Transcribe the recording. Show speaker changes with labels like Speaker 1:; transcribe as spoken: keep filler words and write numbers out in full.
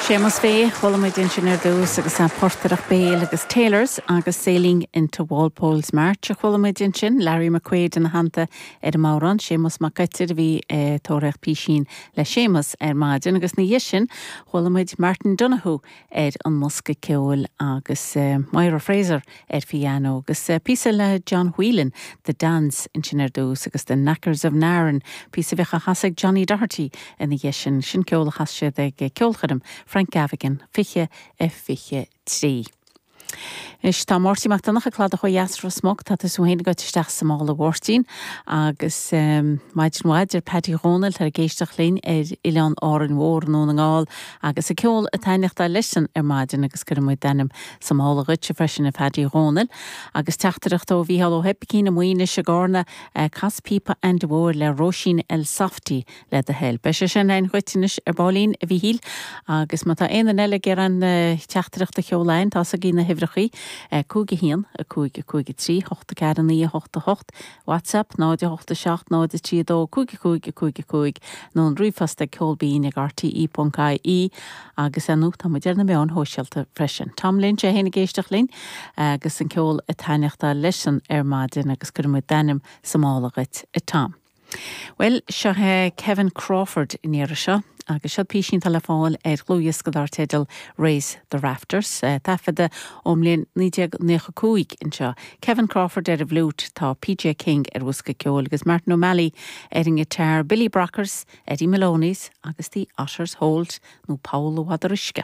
Speaker 1: Séamus Fay chuala muid ansin ar dtús agus an portaireacht béil agus Taylors agus Sailing into Walpole's March a chuala muid ansin Larry McQuaid ina theannta ar an mbodhrán Séamus Mac Coitir a bhí eh, tóraíocht písín le Séamus ar maidin agus ina dhiaidh sin chuala muid Martin Donoghue ar an mbosca ceoil agus uh, Moira Fraser ar piano agus uh, píosa le John Whelan The Dance ansin ar dtús agus The Knackers of Narin píosa a bhí á chasadh ag Johnny Doherty ina dhiaidh sin sin ceol a chas siad ag ceolchoirm Frank Gavigan fiche a fiche trí. Is tá Máirtín Mac Donncha Cladach ó dheas Ros Muc tá tú féin go isteach sa mála Mháirtín agus um, maidin mhaith ar Paddy Dhónaill tar ag éisteacht linn ar Oileán Árainn Mhór nó na nGall agus a ceol ag taitneachtáil leisean ar maidin agus cuireann muid d'ainm sa mála dhuitse freisin a Paddy Dhónaill agus teachtaireacht ó Mhícheál Ó hOibicín i Maínis i gCarna uh, cas píopa Andy Mhóir le Róisín El Softy le do thoil. Beidh sé sin againn dhuit anois ar baillín a Mhíchíl agus má tá aon eile ag an uh, teachtaireacht a sheoladh tá a na huimhreacha cúig a haon a cúig a cúig a trí hocht a ceathair naoi a hocht a hocht WhatsApp náid a hocht a seacht náid a trí dó cúig a cúig a cúig a cúig nó an ríomhphost ag ceolbinn ag RTE.ie agus anú tá muid ar na meáin shóisialta freisin. Tom Lynch é féin ag éisteacht linn agus an ceol ag taitneachtáil leisean ar maidin agus cuireann muid d'ainm sa mála dhuit a Tom. Well seo é Kevin Crawford in iar seo agus seo písín le fáil ar dhlúthdhiosca dar teideal Raise the Rafters eh, taifeadta ón mbliain naoi déag nócha cúig anseo. Kevin Crawford ar an bhfliúit tá PJ King ar bhosca ceoil agus Martin O'Malley ar an ngiotár Billy Brockers, Eddie Maloney's agus the Otters Holt nó Paul Waderuisce.